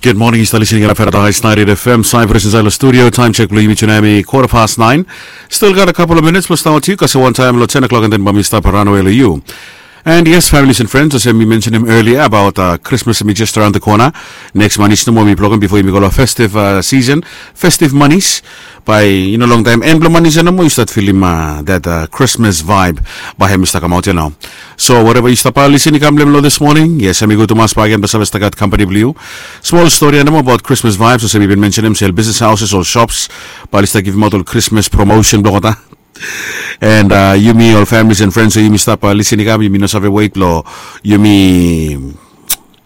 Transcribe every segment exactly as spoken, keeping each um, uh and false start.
Good morning, yu stap listening long Paradise ninety-eight F M, Cyprus inside the studio. Time check blong yumi tu nao hemi quarter past nine. Still got a couple of minutes blong stap wetem yu, kasem wantaem long ten o'clock, and then bae mi stap ranawe long yu. And yes, families and friends, olsem mi mentionem earlier about uh, Christmas hemi just around the corner. Next month hemi nomo blong yumi, bifo yumi go long festive uh, season, festive months. Bae i no longtaem, en blong months ia nomo yu stap filim uh, that uh, Christmas vibe bae hemi stap kamaot ia nao. So whatever yu stap listening i kam long hemia this morning, yes, hemi gud tumas bakegen blong save stap gat kampani blong yu. Smol stori ia nomo about Christmas vibes, olsem mi bin mentionem, se ol business houses, ol shops bae oli stap givimaot ol Christmas promotion blong olgeta. And uh, yumi ol families and friends, so yumi stap uh, listening i kam, yumi no save wet blong yumi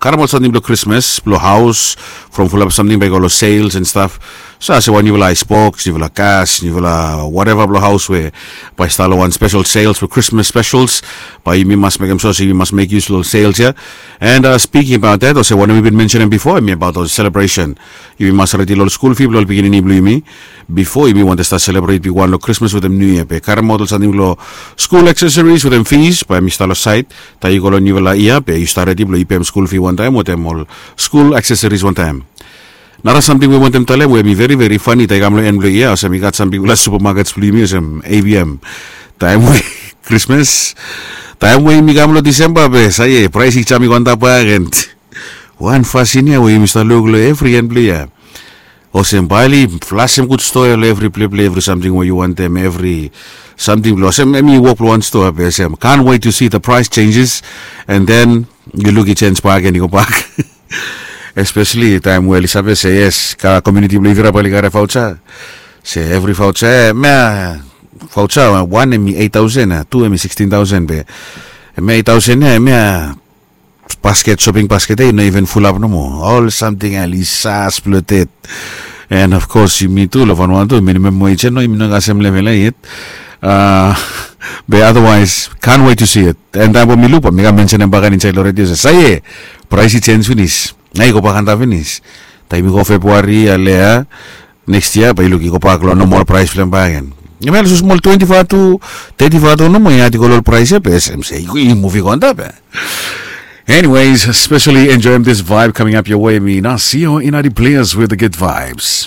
karem ol samting blong Krismas blong haos, from fulap samting bae i go long sales and stuff. So olsem wan niufala aisboks, niufala gas, niufala whatever blong haos we bae i stap long wan special sales blong Krismas specials, bae yumi mas mekem sua se yumi mas make use long sales ia. And uh, speaking about that, olsem wanem mi bin mentionem bifo, hemi about ol celebration. Yumi mas redi long ol skul fi blong ol pikinini blong yumi bifo yumi wantem stap celebrate bigwan long Krismas wetem Niu Yia, be karemaot ol samting blong skul accessories wetem fees, bae hemi stap long sait. Taem yu go long niufala yia, be yu stap redi blong yu pem skul fi wantaem wetem ol skul accessories wantaem. Nara samting we mi wantem talem we hemi veri veri fani, taem i kam long en blong yia, olsem i gat sam bigfala supermarkets blong yumi olsem A V M. Taem we Krismas, taem we yumi kam long Disemba, be sae praes i jam i go antap bakegen. Wan fasin ia we yumi stap luk long evri en blong yia, olsem bae oli flasem gud stoa long evri pleple, evri samting we yu wantem, evri samting blong, olsem hemi wok long wan stoa, be olsem can't wait to see the price changes. And then yu luk i jenis bakegen i go bak. Especially taem we oli save se yes, komuniti blong yufala bae oli karem voucher. Se evri voucher, hemia voucher wan hemi eight thousand, tu hemi sixteen thousand, be hemia eight thousand ia, hemia basket, shopping basket ia i no even fulap nomo. Ol samting ia oli sas bloated. And of course yumi tu long Vanuatu, minimum wage ia no, yumi no gat sem level ia yet. Uh, be otherwise, can't wait to see it. And taem we mi luk bae mi kam mentionem bakegen insaed long redio se sae praes i jenis finis. Nao i go bak antap finis. Taem i go February ia, lea next year bae yu luk i go bak long normal praes blong hem bakegen. Hemia olsem smol twenty-five to thirty-five to nomo ia, i go long ol praes ia, be olsem se i muv i go antap ia. Anyways, especially enjoying this vibe coming up your way, mi Nasio Inadi Players with the good vibes.